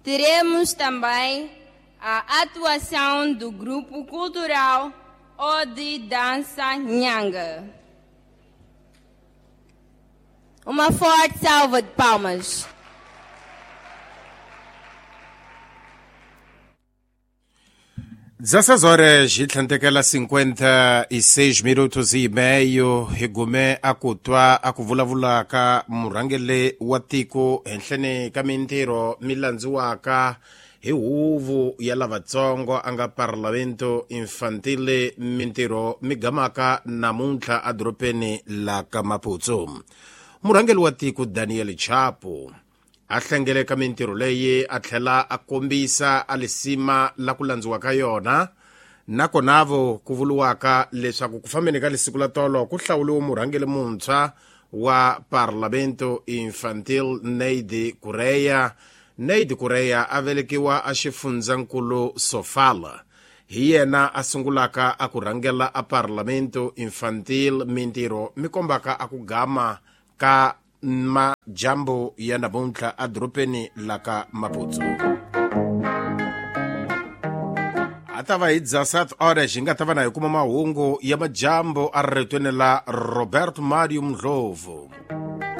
Teremos também a atuação do grupo cultural Ode Dança Nhanga. Uma forte salva de palmas. 16 horas hi tlhantekela 56 minutos e meio hi gume a ku twa a ku vulavula ka murhangeri wa tiko henhleni ka mintirho mi landziwaka hi huvo ya lavatsongo a nga Parlamento Infantile, mintirho mi gamaka namuntlha edorobeni la ka Maputo. Murhangeri wa tiko Daniel Chapo a hlengeleka mintirho leyi a tlhela a kombisa a lisima la ku landziwa ka yona, nakonavo ku vuriwaka leswaku ku fambeni ka lisiku la tolo ku hlawuriwe murhangeri muntshwa wa Parlamento Infantil, Neide Kureya. Neide Kureya a velekiwa a xifundzankulu Sofala, hi yena a sungulaka a ku rhangela a Parlamento Infantil, mintirho mi kombaka a ku gama ka majambu ya namuntlha edorobeni la ka Maputo. A ta va hi 17 horas hi nga ta va na hi kuma mahungu ya majambu a ritweni la Robert Mario Mdlovu.